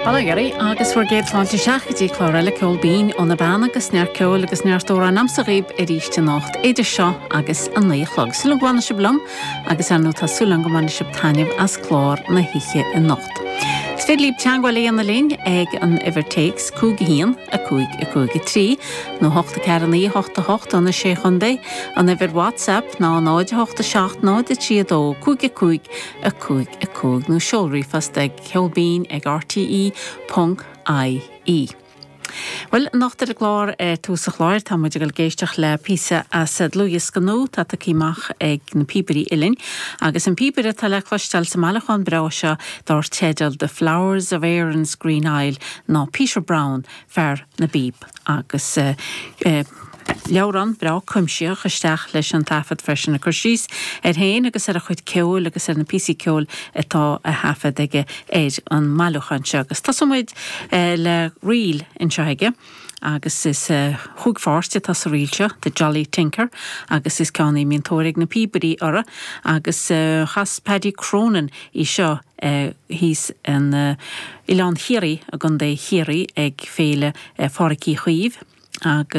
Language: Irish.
Bail ó Dhia oraibh agus bhur gcéad fáilte isteach go dtí clár eile Ceol Binn ó na Beanna agus neart ceoil agus neart amhrán a'msa dhaoib arís anocht idir seo agus a 9 a chlog. Súil agam go bhfanfaidh sibh liom agus ar ndóigh tá súil agam go mbainfidh sibh taitneamh as clár na hoíche anocht. Is féidir libh teagmháil a dhéanamh linn ag an uimhir téacs 5 1 5 5 3 nó 8 4 9 8 8 do na Sé Chontae, an uimhir WhatsApp ná 0 8 7 0 3 2 5 5 5 5 nó seol ríomhphost ag ceolbinn ag rte ponc ie. Bhuel, anocht ar an gclár, ar tús an chláir, tá muid ag dul ag éisteacht le píosa as dlúthdhiosca nua atá tugtha amach ag na Píobairí Uilleann, agus an píobaire atá le cloisteáil sa mbailiúchán breá seo dár teideal The Flowers of Erin's Green Isle ná Peter Browne, fear na bpíob. Agus leabhrán breá cuimsitheach isteach leis an taifead freisin, ag cur síos air féin agus ar a chuid ceoil agus ar na píosaí ceoil atá á thaifead aige ar an mbailiúchán seo. Agus tosóidh muid le ríl anseo aige agus is chúig pháirt atá sa ríl seo, The Jolly Tinker, agus is ceann í a mbíonn tóir ag na píobairí uirthi agus chas Paddy Cronin í seo thíos in Oileán Chiarraí i gContae Chiarraí ag Féile Phádraic Uí Chaoimh agus.